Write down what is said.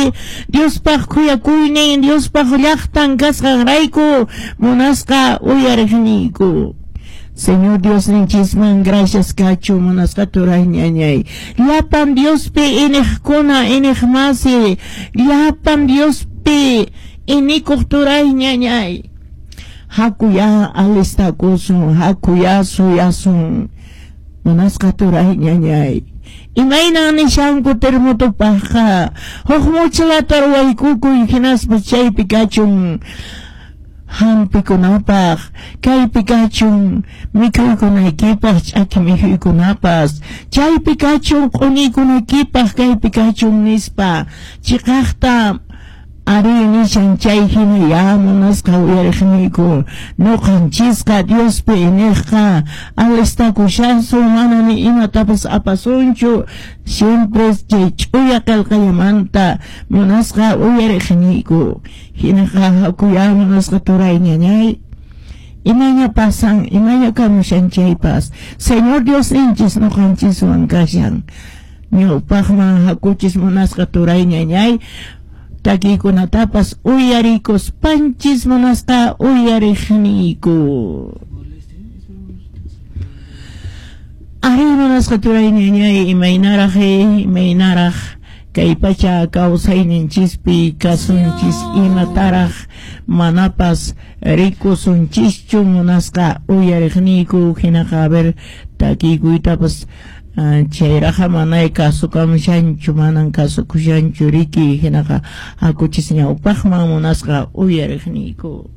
Ari, Diospaq khuyakuynin, Diospaq llaqtan kasqanrayku munasqa uyariqniyku. Señor Diosninchisman gracias kachu munasqa turay ñañay. Llapan Diospi iniqkuna iniqmasi, llapan Diospi inikuq turay ñañay. Hakuya alistakusun, hakuya suyasun. Munasqa turay ñañay. Imaynan nishanku termotopaqqa, huk mochilata ruwaykukuy hinaspa chaypi kachun hampikunapaq, kaypi kachun mikhuykunaykipaq, ch'aki mikhuykunapas, chaypi kachun q'uniykunaykipaq, kaypi kachun nispa chiqaqta ari nishan chay hina ya munasqa uyariqniyku. Nuqanchisqa Diospi iniqqa alistakushasun, mana ni imatapas apasunchu, siempre chay ch'uya qillqallamanta munasqa uyariqniyku. Hinaqa hakuya munasqa turay ñañay. Imaña pasan, imaña kamushan chaypas, Señor Diosninchis nuqanchiswan kashan. Ñawpaqman hakuchis munasqa turay ñañay, takiykunatapas uyarikuspanchis munasqa uyariqniyku. Ari munasqa turay ñañay, imaynaraq imaynaraq kay pacha kawsayninchispi kasunchis, imataraq manapas rikusunchischu munasqa uyariqniyku. Hinaqa a ver takiykuytapas chayraqa manay kasukamushanchu, manan kasukushanchu riki. Hinaqa hakuchis ñawpaqman munasqa uyariqniyku.